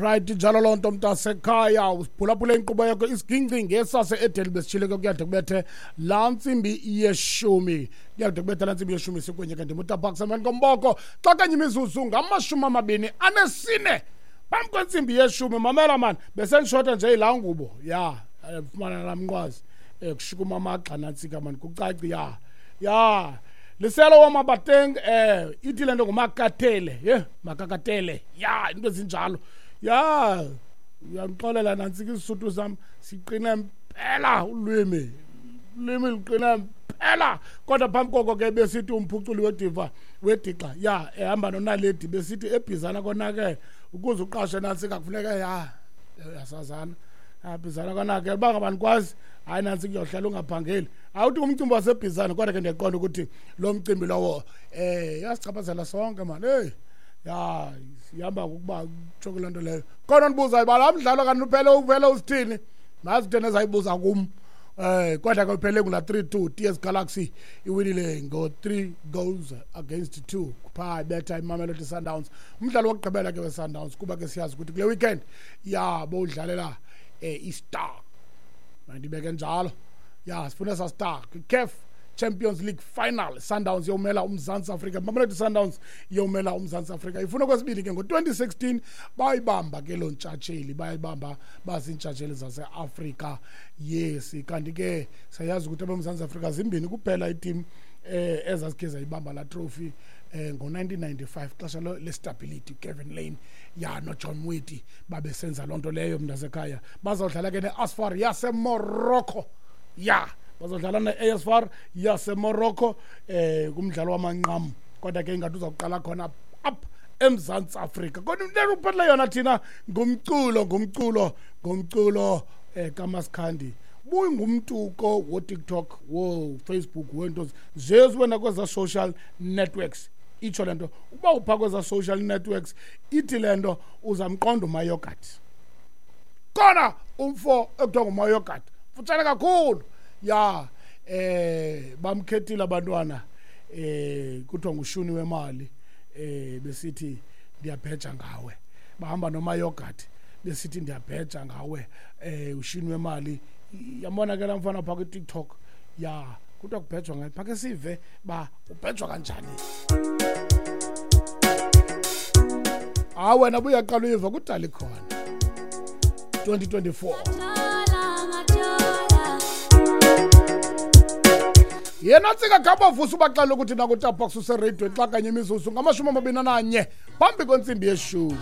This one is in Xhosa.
Right, njalo loo nto mntasekhaya, usiphulaphula inkqubo yakho Isigingci ngesase-Edeni. Besitshile ke kuyade kubethe laa ntsimbi yeshumi, kuyade kubethe laa ntsimbi yeshumi sikunye ke ndimutaphakisa emveni komboko xa kanye imizuzu ngama-24 phambi kwentsimbi yeshumi. Mamela mani, besendishota nje yilaa ngubo ya fumana laa mnqwazi, kushukuma amagxa nantsika mani, kucaci ya ya liselo wamabateng, ithi le nto ngumakatele, ye makakatele ya into ezinjalo ya. Uyandixolela nantsika, isisuthu sam siqine mpela, ulwimi luqine mpela. Kodwa phambi koko ke besithi umphuculi wediva wedixa ya ehamba nonaledi, besithi eBhizana konakele, ukuze uqashe nantsika kufuneka ya yasazana Bhizana konakele, uba ngaba nikwazi, hayi nantsi, kuyohlala ungaphangeli. Awuthi ngumcimbi waseBhizana, kodwa ke ndiyaqonda ukuthi lo mcimbi lowo yasichaphazela sonke mani. Heyi ya, ihamba ngokuba kutsho kuloo nto leyo. Khona ndibuzayo uba laa mdlalo kanti uphele uvele usithini, nazi kutheni ezayibuza kum. Kodwa ke uphele ngula 3-2, TS Galaxy iwinile ngo-3 goals against 2 phaa, ibetha iMamelodi Sundowns. Umdlalo wokugqibela ke we-Sundowns, kuba ke siyazi ukuthi kule weekend ya bowudlalela i-star, mandibeke njalo ya, sifuna sa star kwi-CAF Champions League final. Sundowns yomela uMzantsi Afrika, Mamelodi Sundowns yomela uMzantsi Afrika, ifuna kwesibili ke. Ngo-2016 bayibamba ke loo ntshatsheli, bayibamba baziintshatsheli zase-Afrika. Yes, kanti ke siyayazi ukuthi abeMzantsi Afrika zimbini kuphela itim ezazikhe zayibamba laa trophy, ngo-1995 xesha le-stability, Kevin Lane ya noJohn Moeti babesenza loo nto leyo. Mntasekhaya, bazawudlala ke ne-AS FAR yaseMorocco, ya bazodlala ne-AS FAR yaseMorocco kumdlalo wamanqam, kodwa ke ingathi uzawuqala khona apha eMzantsi Afrika. Kodwa into ekuphathele yona thina ngumculo kaMasikhandi. Buyingumntu ko wo-TikTok, wo-Facebook, wento zezi wena kweza social networks. Itsho le nto uba upha kweza social networks, ithi le nto uzamqonda uMayogat kona, umfo ekuthiwa nguMayogat, futshane kakhulu ya, bamkhethile abantwana, kuthiwa ngushuni wemali, besithi ndiyabheja ngawe. Bahamba noMayogat besithi ndiyabheja ngawe, ushuni wemali. Yambona ke laa mfana phaa kwiTikTok ya, kuthiwa kubhejwa ngaye. Phake sive ba ubhejwa kanjani. Hayi wena, buyaqala uyiva kudala ikhona 2024. Yena tsika khabavusa ubaxela ukuthi nakutapax usereyidweni xa kanye imizuzu ngama-21 phambi kwentsimbi yeshumi.